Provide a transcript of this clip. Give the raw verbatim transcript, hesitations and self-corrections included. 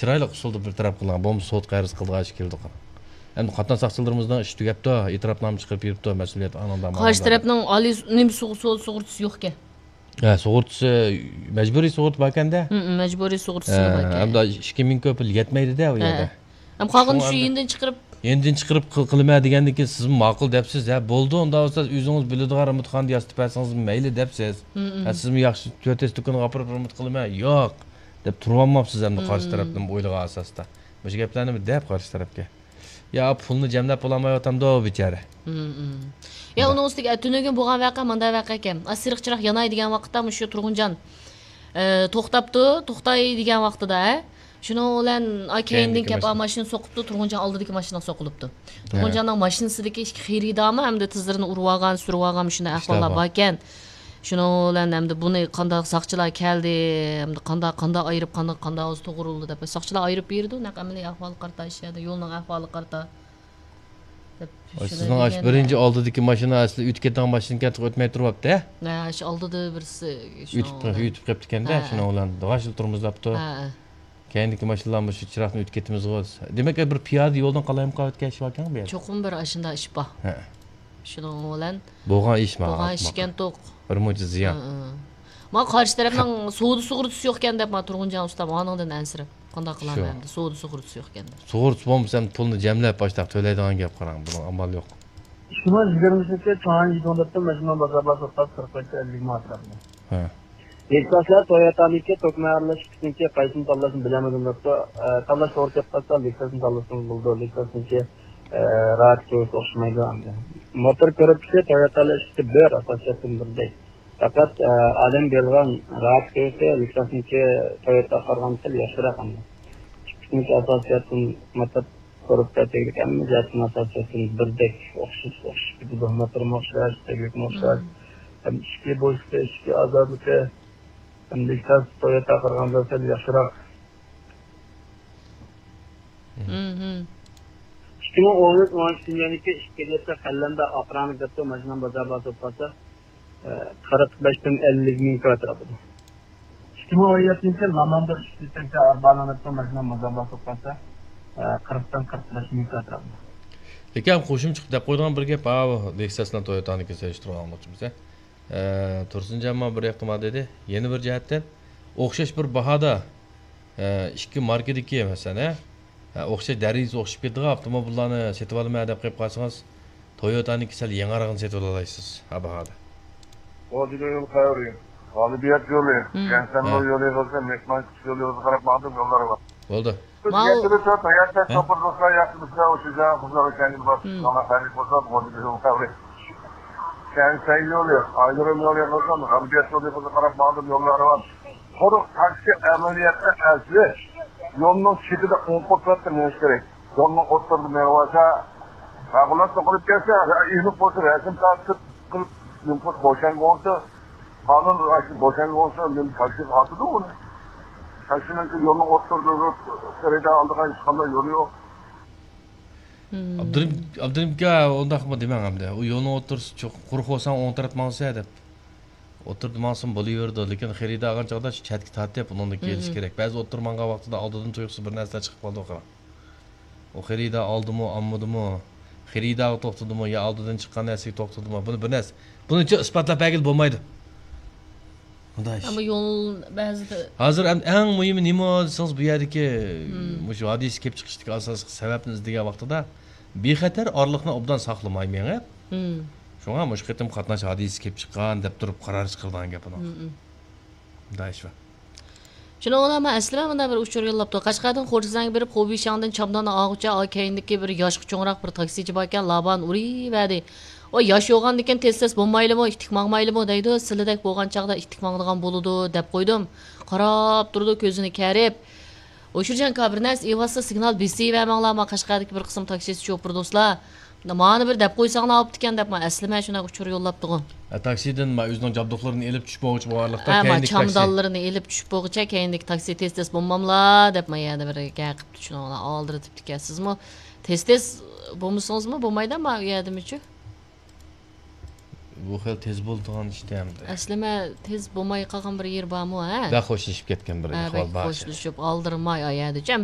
چىرايلىق ئۇسۇلدا بىر تەرەپ قىلغان، بولمىسا سوت قەرز قىلىدىغان ئىش كېلىدۇ. ئەمدى قاتناش ساقچىلىرىمىزنىڭ ئىشى تۈگەپتۇ، ئېتىراپنامە چىقىرىپ بېرىپتۇ، مەسئۇلىيەت ئانىڭدا قارشى تەرەپنىڭ ئالىي نېمە سوغۇ-، سودا سۇغۇرتىسى يوقكەن. ھە، سۇغۇرتىسى، مەجبۇرىي سۇغۇرتا باركەندە. ھە، مەجبۇرىي سۇغۇرتىسى باركەن. ھەمدە ئىككى مىڭ كۆپ پۇل يەتمەيدىدە ئۇ يەردە. ھەم قالغىنى شۇ يېنىدىن چىقىرىپ. يېنىدىن چىقىرىپ قىل-، قىلىمەن دېگەندىن كېيىن سىزمۇ ماقۇل دەپسىز. ھە، بولىدۇ، ئۇنداق بولسا ئۆزىڭىز بىلىدىغان رېمونتخانىدا ياسىتىپ بەرسىڭىز مەيلى دەپسىز. ھە، سىزمۇ ياخشى تۆتەس دۇكانغا ئاپىرىپ رېمونت قىلىمەن. ياق، دەپ تۇرۇۋالماپسىز ئەمدى قارشى تەرەپنىڭ ئويلىغان ئاساسىدا. مۇشۇ گەپلەرنى بىر دەپ قارشى تەرەپكە. يا، پۇلنى جەملەپ بولالمايۋاتامدۇ بىچارە. يا، ئۇنىڭ ئۈستىگە، ئە، تۈنۈگۈن بولغان ۋەقە مۇنداق ۋەقە ئىكەن. ئا، سېرىق چىراغ ياناي دېگەن ۋاقىتتا مۇشۇ تۇرغۇنجان، ئە، توختاپتۇ، توختاي دېگەن ۋاقتىدا، ھە. شۇنىڭ بىلەن، ئا، كەينىدىن كەپ، ئا، ماشىنا سوقۇپتۇ، تۇرغۇنجان ئالدىدىكى ماشىنىغا سوقۇلۇپتۇ. تۇرغۇنجاننىڭ ماشىنىسىدىكى ئىككى خېرىدارمۇ ئەمدى تىزلىرىنى ئۇرۇۋالغان، سۈرۈۋالغان، مۇشۇنداق ئەھۋاللار باركەن. شۇنىڭ بىلەن ئەمدى بۇنى قانداق ساقچىلار كەلدى، ئەمدى قانداق، قانداق ئايرىپ، قانداق، قانداق توغرىلىدى دەپ، ساقچىلار ئايرىپ بېرىدۇ، نەق ئەمەلىي ئەھۋالغا قارىتا، ئىش يەردە يولنىڭ ئەھۋالىغا قارىتا دەپ. ۋاي، سىزنىڭ ئاشۇ بىرىنچى ئالدىدىكى ماشىنا ئەسلى ئۆتۈپ كېتىدىغان ماشىنىكەن، ئۆتمەي تۇرۇۋاپتۇ، ھە؟ ھە، شۇ ئالدىدا بىرسى ئۆتۈپ، ئۆتۈپ قېپتىكەندە، شۇنىڭ بىلەن داغاچلا تورمۇزلاپتۇ. ھە، ھە. كەينىدىكى ماشىنىلار مۇشۇ چىراغدىن ئۆتۈپ كېتىمىزغۇ دېمەك، بىر پىيادە يولدىن قالايمىقان ئۆتكەن ئىش باركەن بۇ يەردە. چوقۇم بىر ئاشۇنداق ئىش بار. ھە. شۇنىڭ بىلەن بولغان ئىش ما، بولغان ئىش ئىكەن توق. بىر مۇنچە زىيان. ھە، ھە. ما قارشى تەرەپنىڭ سودا سۇغۇرتىسى يوقكەن دەپ، ما تۇرغۇنجان ئۇستام ئانىڭدىن ئەنسىرەپ، قانداق قىلامەن ئەمدى، سودا سۇغۇرتىسى يوقكەن دەپ. سۇغۇرتىسى بولمىسا ئەمدى پۇلنى جەملەپ باشلاپ تۆلەيدىغان گەپ، قاراڭ، بۇنىڭ ئامال يوق. ئىككى مىڭ يىگىرمە ئۈچىنچى يىلى چاڭ يىگدۇڭدىن ماشىنا بازار بار سوتقا قىرىق بەش ئەللىك مىڭ ئەتراپىدا. ھە. لېكساسلار تويوتانىڭكى توكمەي ئارىلاشقۇچىنىڭكى قايسىنى تاللاشنى بىلەلمىدىم دەپتۇ. ئە، تاللاش توغرا كېلىپ قالسا لېكساسنى تاللىسىڭىز بولىدۇ. لېكساسنىڭكى، ئە، راھەت كۆرۈشى ئوخشىمايدۇ ئەمدى. موتور كۆرۈپ چىقسا تويوتالار ئىككىسى بىر ئاساسىيەتتىن بىردەك. پەقەت، ئە، ئادەم بېرىدىغان راھەت كۆرۈشى لېكساسنىڭكى تويوتاغا قارىغاندا سەل ياخشىراق ئەمدى. ئىككىسىنىڭكى ئاساسىيەتتىن موتور كورپۇسى تەگلىك ھەممە جەھەتتىن ئاساسىيەتتىن بىردەك ئوخشاش، ئوخشاش كېتىدۇ. موتورمۇ ئوخشاش، تەگلىكمۇ ئوخشاش. ھەم ئىچكى بوشلۇقى، ئىچكى ئازادلىقى، ھەم لېكساس تويوتاغا قارىغاندا سەل ياخشىراق. مم. ئىككى مىڭ ئون ئۈچ، ئون ئىككىنچى يىلدىكى ئىككى لىتىر قەلەمدە ئاقراڭلىق دەپتۇ، ماشىنام بازار بار سوتقانسا، ئە، قىرىق بەشتىن ئەللىك مىڭ كىلو ئەتراپىدا. ئىككى مىڭ ئون يەتتىنچى يىل لاماندا ئۈچ لىتىرچە ئاربانىڭ دەپتۇ، ماشىنام بازار بار سوتقانسا، ئە، قىرىقتىن قىرىق بەش مىڭ كىلو ئەتراپىدا. لېكىن قوشۇمچە دەپ قويىدىغان بىر گەپ، ھا، لېكساسنىڭ تويوتانىڭكى سېلىشتۇرۇپ ئالماقچىمىز، ھە؟ ئە، تۇرسۇنجان ما بىر ئېھتىمال دېدى. يەنە بىر جەھەتتىن، ئوخشاش بىر باھادا، ئە، ئىككى ماركىدىكى، مەسىلەن، ھە، ئە، ئوخشاش دەرىجىسى ئوخشىشىپ كېتىدىغان ئاپتوموبىللارنى سېتىۋالىمەن دەپ قېلىپ قالسىڭىز، تويوتانىڭكى سەل يېڭىراقىنى سېتىۋالالايسىز، ھە، باھادا. غوجىگە يول قەۋرى، غالىبىيەت يولى، مم. كەنسەنلو يولى بولسا، مېكمانسىك يولى بولسا قاراپ ماڭدىم يوللار بار. بولدى. ماۋۇ يەتتە بىر تۆت، يەتتە بىر توققۇز بولسا، يەتتە بىر بولسا، ئۇ شىنجاڭ قىزلار ئۆتكەن يىل بار. مم. شۇڭا خەرج بولسا، غوجىگە يول قەۋرى. كەنسەن يولى، ئايرىم يولى بولسا، غەربىيەت يولى بولسا قاراپ ماڭدىم يوللار بار. قۇرۇق تاكسى ئەمەلىيەتتە ئەسلى يولنىڭ چېتىدە ئوڭ قولتۇرۇپلا مېڭىش كېرەك. يولنىڭ ئوتتۇرىدا مېڭىۋالسا، ھەقۇلات توقۇنۇپ كەلسە، ئېنىق بولسا، رەسىم تارتىپ قىلىپ، نېمە قىلىپ بوشاڭغا بولسا، قانۇن ئاشۇ بوشاڭغا بولسا، نېمە تاكسىغا ئاتىدۇ ئۇنى. تاكسىنىڭ يولنىڭ ئوتتۇرىدا تۇرۇپ، خېرىدار ئالىدىغان ھېچقانداق يولى يوق. مم. ئابدۇرېھىم، ئابدۇرېھىم ئاكا، ئۇنداقمۇ دېمەڭ ئەمدى. ئۇ يولنىڭ ئوتتۇرىسى چوق-، قۇرۇق بولساڭ ئوڭ تەرەپ ماڭىسەن دەپ. ئوتتۇرىدا ماڭسىمۇ بولۇۋېرىدۇ، لېكىن خېرىدار ئالغان چاغدا شۇ چەتكە تارتىپ ئۇنىڭدىن كېلىش كېرەك. بەزى ئوتتۇرا ماڭغان ۋاقتىدا ئالدىدىن تۇيۇقسىز بىر نەرسىلەر چىقىپ قالىدۇ، قاراڭ. ئۇ خېرىدار ئالدىمۇ، ئالمىدىمۇ، خېرىدارغا توختىدىمۇ يا ئالدىدىن چىققان نەرسىگە توختىدىمۇ، بۇنى بىر نەرسە، بۇنى ئىسپاتلاپ بەرگىلى بولمايدۇ. مۇنداق ئىش. ئەمما يول بەزىدە ھازىر ئەم-، ئەڭ مۇھىمى نېمە دېسىڭىز، بۇ يەردىكى، مم، مۇشۇ ھادىسە كېلىپ چىقىشتىكى ئاساسلىق سەۋەبنى ئىزدىگەن ۋاقتىدا بىخەتەر ئارىلىقنى ئوبدان ساقلىماي مېڭىپ، مم، شۇڭا مۇشۇ قېتىم قاتناش ھادىسىسى كېلىپ چىققان دەپ تۇرۇپ قارار چىقىرىدىغان گەپ ئۇنىڭ. مم، مم. مۇنداق ئىش بار. شۇنىڭ بىلەن مەن ئەسلىمە مۇنداق بىر ئۇچۇر يوللاپتۇ. قەشقەردىن خورجىزەنگە بېرىپ، خۇبىشياڭدىن چامداننى ئالغۇچە، ئا، كەينىدىكى بىر ياشقا چوڭراق بىر تاكسىچى باركەن، لابان ئۇرۇۋەردى. ۋاي، ياش يوغاندىكىن تېز-تېز بولمايلىمۇ، ئىتتىك ماڭمايلىمۇ دەيدۇ. سىلىدەك بولغان چاغدا ئىتتىك ماڭىدىغان بولىدۇ دەپ قويدۇم. قاراپ تۇرىدۇ كۆزىنى كەرىپ. ئوشۇرجان كا، بىر نەرسە ئېۋاتسا سىگنال بېسىۋەرمەڭلار، ما قەشقەردىكى بىر قىسىم تاكسىسى شوپۇر دوستلار. مانا بىر دەپ قويساڭلار ئاپتىكەن دەپ، ما ئەسلىمە شۇنداق ئۇچۇر يوللاپتىغۇ. ئە، تاكسىدىن ما ئۆزىنىڭ جابدۇقلىرىنى ئېلىپ چۈشۈپ بولغۇچە بارلىقتا، ھە، ما كەينىدىكى تاكسى. چامدانلىرىنى ئېلىپ چۈشۈپ بولغۇچە كەينىدىكى تاكسى تېز-تېز بولماملا دەپ، ما يەنە بىر گەپ قىپتۇ، شۇنىڭ بىلەن ئالدىرىتىپتىكەن. سىزمۇ تېز-تېز بولمىسىڭىزمۇ بولمايدۇ، ما ئۇ يەردىمۇچۇ؟ بۇ خېلى تېز بولىدىغان ئىش ئەمدى. ئەسلىمە تېز بولماي قالغان بىر يېرى بارمۇ، ھە؟ بەك خوشلىشىپ كەتكەن بىر ھە، ئەھۋال بەك بار. خوشلىشىپ، ئالدىرىماي ئايەدىچۇ.